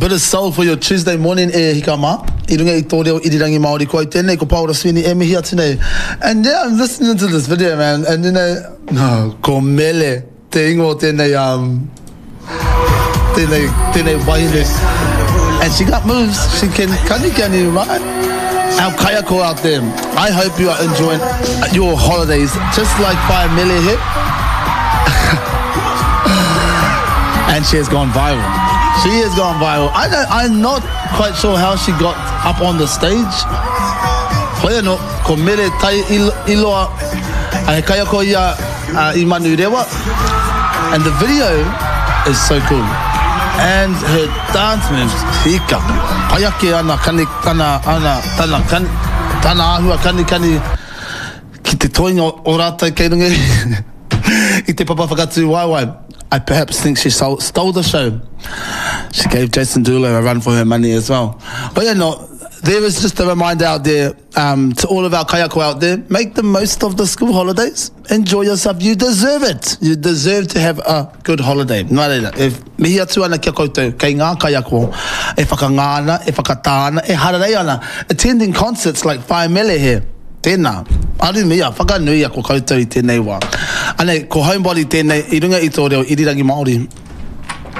bit of soul for your Tuesday morning e hika mā. I runga i tō reo irirangi Māori ko au tēnei, ko Paora Sweeney e mihi atu nei. And yeah, I'm listening to this video man, and you know, no, ko Mele te ingoa o tēnei, um, tēnei, tēnei wahine. And she got moves, she can kanikani, right? Our kaiako out there, I hope you are enjoying your holidays just like Whaea Mele here. and she has gone viral. She has gone viral. I don't, I'm not quite sure how she got up on the stage. Hoi anō, ko Mere Tai Iloa, he kaiako ia i Manurewa. And the video is so cool. And her dance moves, hika. Pai ake ana kani, tana, ana, tana, kani, tana āhua kanikani ki te toenga o rātou kei runga i te papa whakatū waewae. I perhaps think she stole, stole the show. She gave Jason Derulo a run for her money as well. But yeah, no, there is just a reminder out there um, to all of our kaiako out there, make the most of the school holidays. Enjoy yourself. You deserve it. You deserve to have a good holiday. Nā reira, e mihi atu ana ki a koutou, kei ngā kaiako e whakangā ana, e whakatā ana, e hararei ana, attending concerts like Whaea Mele here. Tēnā, arumia, whakanuia ko koutou i tēnei wā. Anei, ko Homebody tēnei i runga i tō reo irirangi Māori.